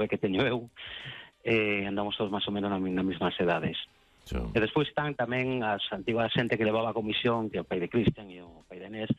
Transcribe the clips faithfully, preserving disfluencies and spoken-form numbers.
nove que teño eu, e andamos todos máis ou menos nas mesmas edades. So. E despois están tamén as antiguas xente que levaba a comisión, que é o pai de Cristian e o pai de Inés,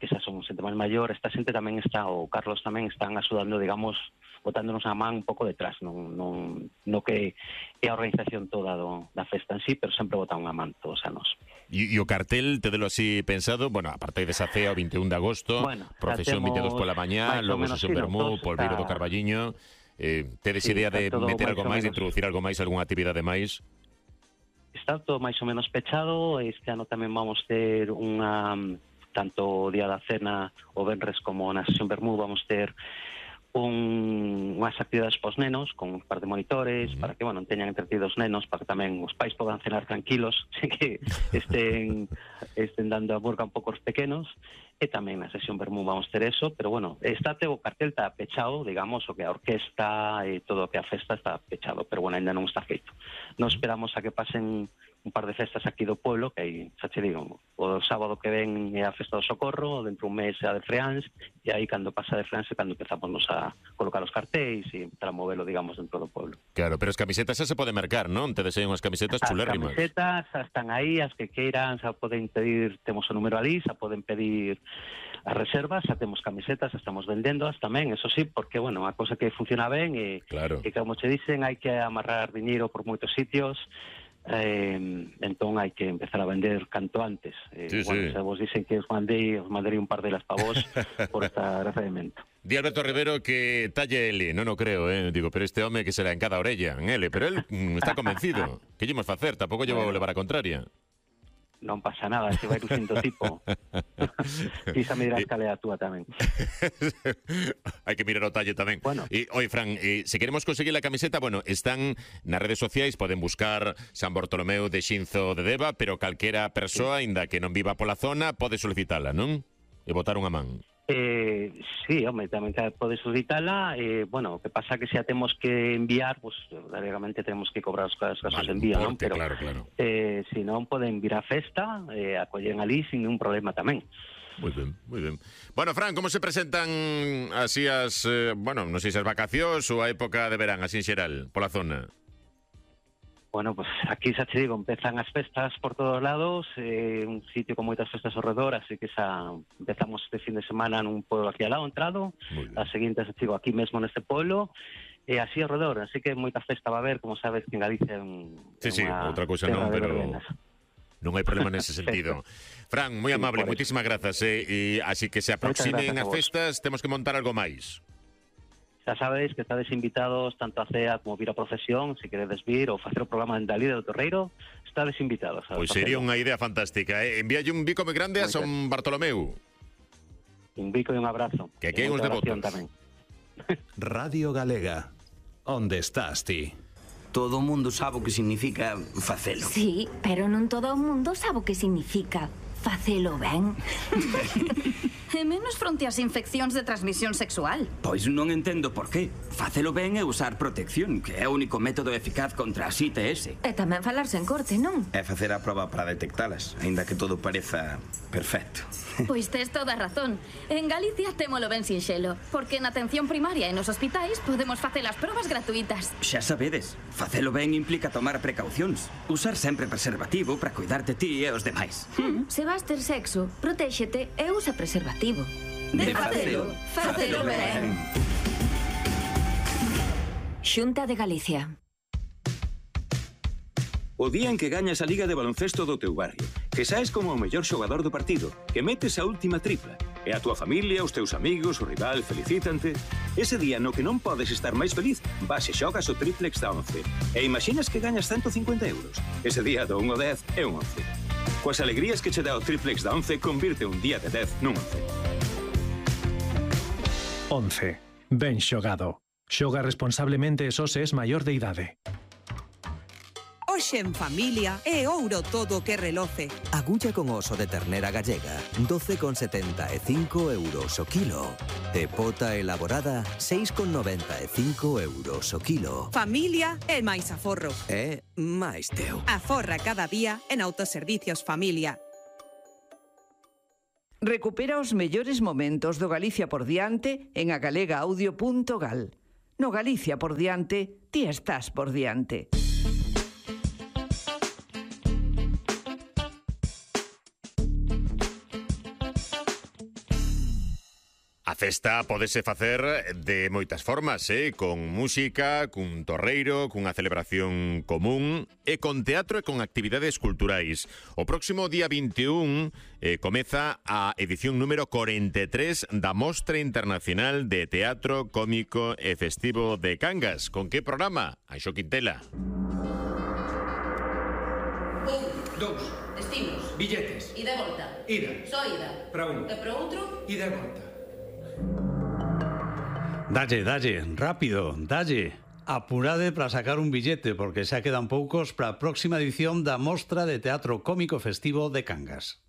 que esas son xente máis maior. Esta xente tamén está, o Carlos tamén, están axudando, digamos, botándonos a man un pouco detrás, non, non, no que é a organización toda do, da festa en sí, pero sempre botan unha man todos a nos. E, e o cartel, te delo así pensado, bueno, a partir desa cea o veintiún de agosto, bueno, procesión vinte e dous pola mañá, logo sesión vermú, polveiro do Carballiño, eh, tedes sí, idea de meter algo máis, de introducir algo máis, algunha actividade máis? Está todo máis ou menos pechado. Este ano tamén vamos ter unha, tanto o día da cena, o venres, como na sesión vermú, vamos ter un, unhas actividades pos nenos con un par de monitores, uh-huh. para que, bueno, teñan entretidos nenos, para que tamén os pais podan cenar tranquilos, que estén estén dando a burga un pouco os pequenos. E tamén na sesión vermú vamos ter eso, pero bueno, está o cartel está pechado, digamos, o que a orquesta e todo o que a festa está pechado, pero bueno, ainda non está feito. Nos esperamos a que pasen un par de festas aquí do pueblo, que aí, xa te digo, o sábado que ven é a festa do Socorro, dentro un mes é a de Freáns, e aí cando pasa de Freáns é cando empezamos a colocar os cartéis e empezar a movelo, digamos, dentro do pueblo. Claro, pero as camisetas xa se poden mercar, non? Te desean unhas camisetas chulérrimas. As camisetas xa están aí, as que queiran, xa poden pedir, temos o número ali, xa poden pedir as reservas, xa temos camisetas, xa estamos vendéndoas tamén, eso sí, porque, bueno, a cosa que funciona ben e, claro. e como che dicen, hai que amarrar diñeiro por moitos sitios. Eh, entón hai que empezar a vender canto antes. Eh, sí, bueno, sí. Se vos dicen que os mandei, os mandei un par delas para vos por esta gracia de mento. Di Alberto Rivero que talle L, non o creo, eh? Digo, pero este home que será en cada orella, en L, pero él mm, está convencido. Que lle imos facer? Tampouco lle vou levar a contraria. Non pasa nada, se vai lucindo tipo. Quizá me dirás cal é a túa tamén. Hai que mirar o talle tamén. Bueno. E, oi, Fran, eh, se queremos conseguir a camiseta, bueno, están nas redes sociais, poden buscar San Bartolomeu de Xinzo de Deva, pero calquera persoa, sí. Inda que non viva pola zona, pode solicitala, non? E botar unha man. Eh, sí, home, tamén pode solicitala. Eh, bueno, o que pasa que se a temos que enviar, pues, realmente temos que cobrar os casos vale, de envío, non? Pero, claro, claro. Eh, se non poden vir a festa, eh, acollen ali sin ningún problema tamén. Moi ben, moi ben. Bueno, Fran, como se presentan así as, eh, bueno, non sei se as vacacións ou a época de verán, así en xeral, pola zona? Bueno, pues aquí xa te digo, empezan as festas por todos lados, eh, un sitio con moitas festas ao redor, así que xa empezamos este fin de semana nun pueblo aquí ao lado, entrado, a seguinte xa te digo aquí mesmo neste pueblo, e así ao redor, así que moita festa va a haber, como sabes que en Galicia é un, sí, sí, outra cousa non, pero non hai problema nese sentido. Fran, moi amable, sí, moitísimas grazas, eh, e así que se aproximen as festas, temos que montar algo máis. Xa sabedes que estades invitados tanto a cea como vir a procesión, se queredes vir ou facer o programa en Dalí do Torreiro, estades invitados. Pois sería unha idea fantástica, eh? Envíalle un bico moi grande a San Bartolomeu. Un bico e un abrazo. Que aquí hai uns devotos. Radio Galega, onde estás ti? Todo o mundo sabe o que significa facelo. Sí, pero non todo o mundo sabe o que significa facelo ben. E menos fronte ás infeccións de transmisión sexual. Pois non entendo por qué. Facelo ben é usar protección, que é o único método eficaz contra as I T S. E tamén falarse en corte, non? É facer a proba para detectalas, aínda que todo pareza perfecto. Pois tes toda a razón. En Galicia témolo ben sinxelo, porque na atención primaria e nos hospitais podemos facer as probas gratuitas. Xa sabedes, facelo ben implica tomar precaucións. Usar sempre preservativo para cuidarte ti e os demais. Mm, se vas ter sexo, protéxete e usa preservativo. De facelo, facelo ben. Xunta de Galicia. O día en que gañas a Liga de Baloncesto do teu barrio, que saes como o mellor xogador do partido, que metes a última tripla, e a túa familia, os teus amigos, o rival felicítante, ese día no que non podes estar máis feliz, vas e xogas o triplex da once. E imaginas que gañas ciento cincuenta euros. Ese día do un ao dez é un once. Coas alegrías que che dá o triplex da once, convirte un día de dez nun once. once. Ben xogado. Xoga responsablemente e só se es maior de idade. Hoxe en familia é ouro todo o que reloce. Agulla con oso de ternera gallega, doce con setenta e cinco euros o kilo. E pota elaborada, seis con noventa e cinco euros o kilo. Familia é máis aforro. É máis teu. Aforra cada día en Autoservicios Familia. Recupera os mellores momentos do Galicia por diante en agalega audio punto gal. No Galicia por diante, ti estás por diante. A festa podese facer de moitas formas, eh? Con música, cun torreiro, cunha celebración común e con teatro e con actividades culturais. O próximo día vinte e un eh, comeza a edición número cuarenta e tres da Mostra Internacional de Teatro Cómico e Festivo de Cangas. Con que programa? Anxo Quintela. Un, dous, destinos, billetes, ida e volta, ida, só ida, para un, e para outro, ida e volta. Dalle, dalle, rápido, dalle. Apurade para sacar un billete, porque xa quedan poucos para a próxima edición da Mostra de Teatro Cómico Festivo de Cangas.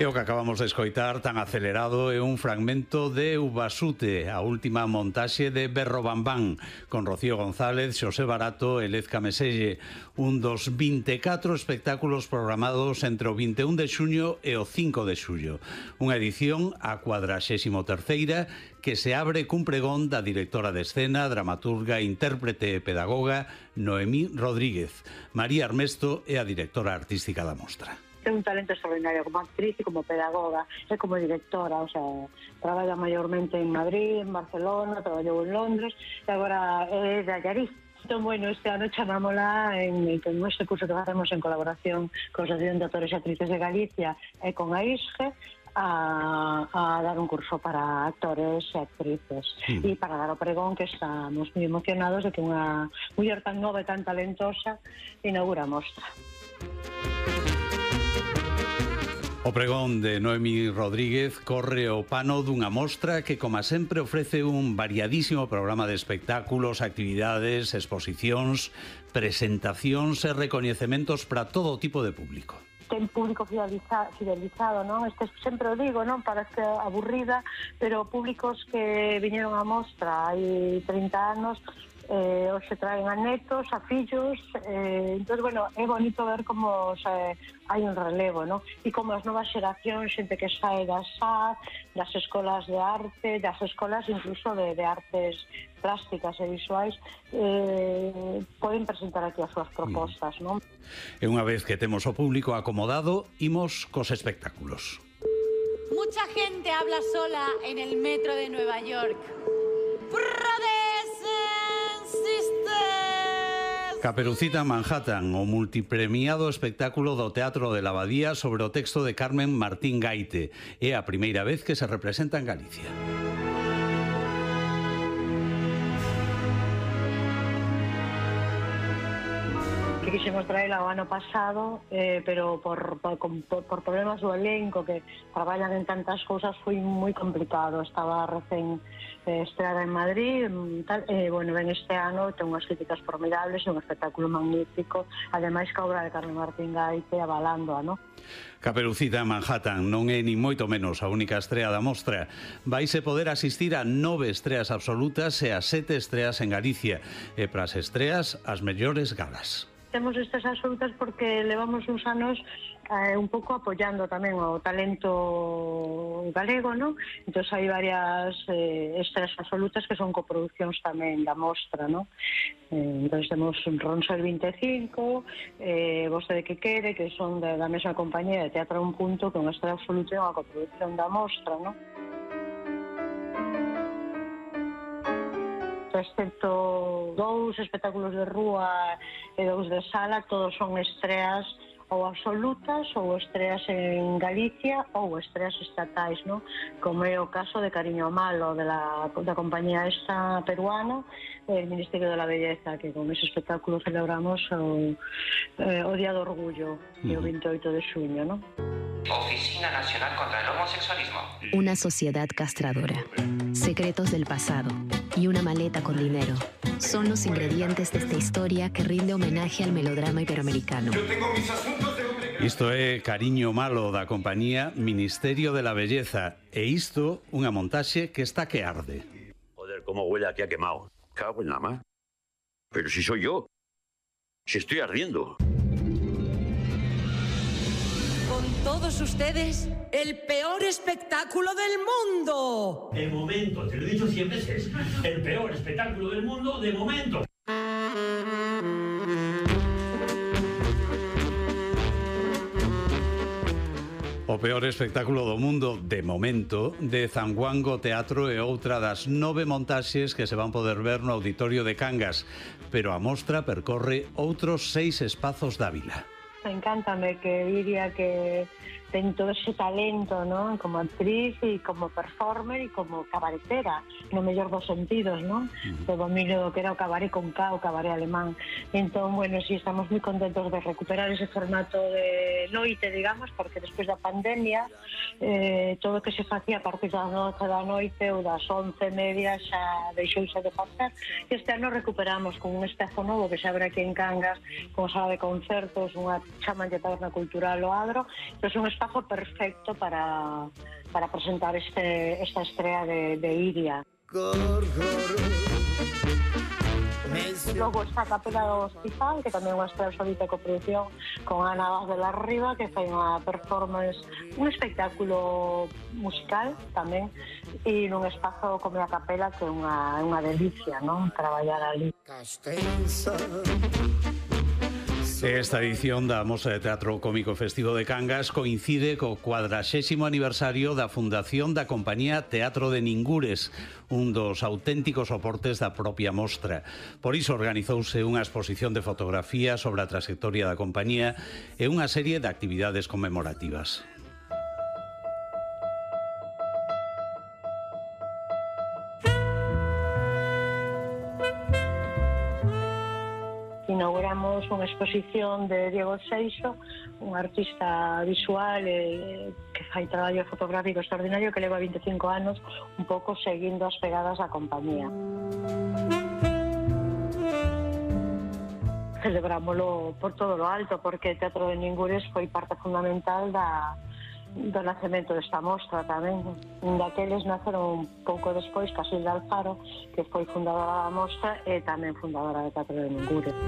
E o que acabamos de escoitar tan acelerado é un fragmento de Ubasute, a última montaxe de Berro Bambán, con Rocío González, Xosé Barato e Lez Cameselle, un dos vinte e catro espectáculos programados entre o vinte e un de xuño e o cinco de xullo. Unha edición a cuadraxésimo terceira que se abre cun pregón da directora de escena, dramaturga, intérprete e pedagoga Noemí Rodríguez. María Armesto é a directora artística da mostra. Ten un talento extraordinario como actriz e como pedagoga e como directora, o sea, traballa maiormente en Madrid, en Barcelona, traballou en Londres e agora é de Allariz. Entón, bueno, este ano chamámola en, en este curso que facemos en colaboración con a Asociación de Actores e Actrices de Galicia e con a I S G E a, a dar un curso para actores e actrices sí. E para dar o pregón, que estamos moi emocionados de que unha muller tan nova e tan talentosa inaugura a mostra. O pregón de Noemí Rodríguez corre o pano dunha mostra que, como sempre, ofrece un variadísimo programa de espectáculos, actividades, exposicións, presentacións e recoñecementos para todo tipo de público. Ten público fideliza, fidelizado, non? Este sempre o digo, non? Parece aburrida, pero públicos que viñeron á mostra hai trinta anos, eh, os se traen a netos, a fillos, eh, entón, bueno, é bonito ver como se, hai un relevo, non? E como as novas xeracións, xente que sae das S A D, das escolas de arte, das escolas incluso de, de artes plásticas e visuais, eh, poden presentar aquí as súas propostas, non? E unha vez que temos o público acomodado, imos cos espectáculos. Mucha gente habla sola en el metro de Nueva York. Caperucita Manhattan, o multipremiado espectáculo do Teatro de la Abadía sobre o texto de Carmen Martín Gaite. É a primeira vez que se representa en Galicia. Que quixemos traela o ano pasado, eh, pero por, por, por, por problemas do elenco que traballan en tantas cousas foi moi complicado. Estaba recén eh, estreada en Madrid, tal, eh, bueno, ben este ano ten unhas críticas formidables e un espectáculo magnífico, ademais que a obra de Carmen Martín Gaite avalándoa, non? Caperucita Manhattan non é ni moito menos a única estrea da mostra. Vaise poder asistir a nove estreas absolutas e a sete estreas en Galicia, e para as estreas as mellores galas. Temos estas absolutas porque levamos uns anos eh, un pouco apoiando tamén o talento galego, non? Entón hai varias eh, estreas absolutas que son coproduccións tamén da mostra, non? Eh, entón temos Ronsel vinte e cinco, eh, Vostede que quere, que son de, da mesma compañía de Teatro a un punto, que é unha estrela absoluta e unha coproducción da mostra, non? Excepto dous espectáculos de rúa e dous de sala, todos son estreas ou absolutas ou estreas en Galicia ou estreas estatais, ¿no? Como é o caso de Cariño Malo, de la, da compañía esta peruana, el Ministerio de la Belleza, que con ese espectáculo celebramos o, eh, o Día do Orgullo, uh-huh. o vinte e oito de xuño, ¿no? Oficina Nacional contra el Homosexualismo. Una sociedad castradora, secretos del pasado y una maleta con dinero son los ingredientes de esta historia que rinde homenaje al melodrama iberoamericano. Yo tengo mis asuntos de hombre. Isto é Cariño Malo da compañía Ministerio de la Belleza, e isto unha montaxe que está que arde. Joder, cómo huele aquí a quemado. Cago en la mar. Pero si soy yo. Si estoy ardiendo. Con todos ustedes, el peor espectáculo del mundo. De momento, te lo he dicho cien veces, el peor espectáculo del mundo de momento. O peor espectáculo do mundo, de momento, de Zanguango Teatro é outra das nove montaxes que se van poder ver no Auditorio de Cangas, pero a mostra percorre outros seis espazos da vila. Encántame que diría que ten todo ese talento, ¿no? Como actriz e como performer e como cabaretera, no mellor dos sentidos, ¿no? Uh-huh. O dominio do que era o cabaré con K, o cabaré alemán. Entón, bueno, sí, estamos moi contentos de recuperar ese formato de noite, digamos, porque despois da pandemia, eh, todo o que se facía a partir das nove da noite ou das once e media xa deixouse de facer. E este ano recuperamos con un espazo novo que se abre aquí en Cangas, con sala de concertos, unha chaman de taberna cultural o Adro, pero é un espazo perfecto para, para presentar este, esta estrella de, de Iria. Logo está a Capela do Hospital, que tamén é unha estrella solita de coproducción con Ana Vaz de la Riva, que fai unha performance, un espectáculo musical tamén, e nun espazo como a Capela, que é unha, unha delicia, non? Traballar ali. Castenza. Esta edición da Mostra de Teatro Cómico Festivo de Cangas coincide co cuadraxésimo aniversario da fundación da compañía Teatro de Ningures, un dos auténticos soportes da propia mostra. Por iso organizouse unha exposición de fotografía sobre a trayectoria da compañía e unha serie de actividades conmemorativas. Inauguramos unha exposición de Diego Seixo, un artista visual eh, que fai traballo fotográfico extraordinario, que leva veinticinco anos un pouco seguindo as pegadas da compañía. Celebrámoslo por todo lo alto, porque o Teatro de Ningures foi parte fundamental da do nacemento desta mostra tamén. Daqueles naceron un pouco despois Casilda Alfaro, que foi fundadora da mostra e tamén fundadora do Teatro de Ningures.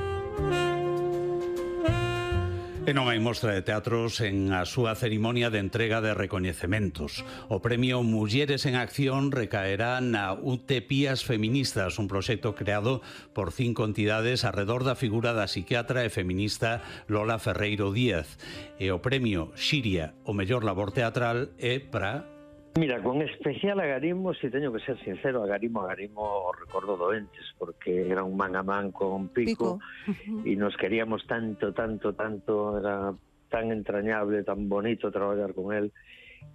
E non hai mostra de teatro sen a súa cerimonia de entrega de recoñecementos. O premio Mulleres en Acción recaerá na Utepías Feministas, un proxecto creado por cinco entidades arredor da figura da psiquiatra e feminista Lola Ferreiro Díaz. E o premio Xiria, o mellor labor teatral, é para... Mira, con especial agarimo, se teño que ser sincero, agarimo, agarimo recordo doentes, porque era un man a man con Pico, Pico. E nos queríamos tanto, tanto, tanto, era tan entrañable, tan bonito traballar con él,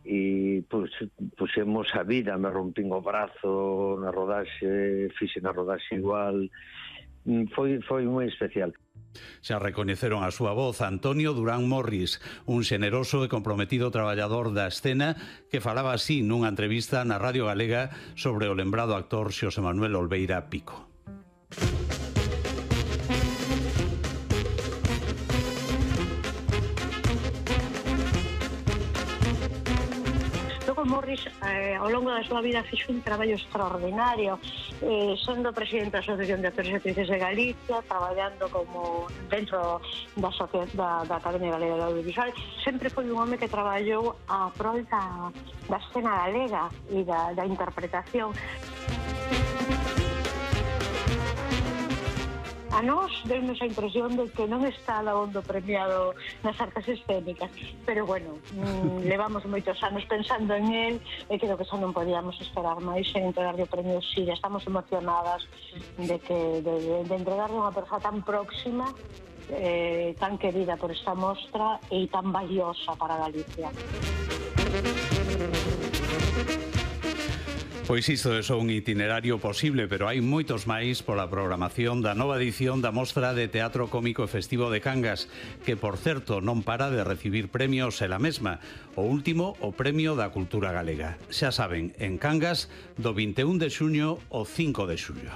e pues, pusemos a vida, me rompín o brazo na rodaxe, fixe na rodaxe igual, foi, foi moi especial. Xa recoñeceron a súa voz Antonio Durán Morris, un xeneroso e comprometido traballador da escena que falaba así nunha entrevista na Radio Galega sobre o lembrado actor Xosé Manuel Olveira Pico. Morris, eh, ao longo da súa vida, fixo un traballo extraordinario, eh, sendo presidente da Asociación de Actores e Actrices de Galicia, traballando como dentro da, da, da Academia Galega de Audiovisual. Sempre foi un home que traballou a prol da, da escena galega e da, da interpretación. A nós deunos a impresión de que non está dabondo premiado nas artes escénicas, pero bueno, mmm, levamos moitos anos pensando en él e creo que xa non podíamos esperar máis en entregarle o premio Xiria. Estamos emocionadas de que de, de entregarle unha persoa tan próxima, eh, tan querida por esta mostra e tan valiosa para Galicia. Pois isto é só un itinerario posible, pero hai moitos máis pola programación da nova edición da Mostra de Teatro Cómico Festivo de Cangas, que, por certo, non para de recibir premios ela mesma. O último, o Premio da Cultura Galega. Xa saben, en Cangas, do vinte e un de xuño ao cinco de xullo.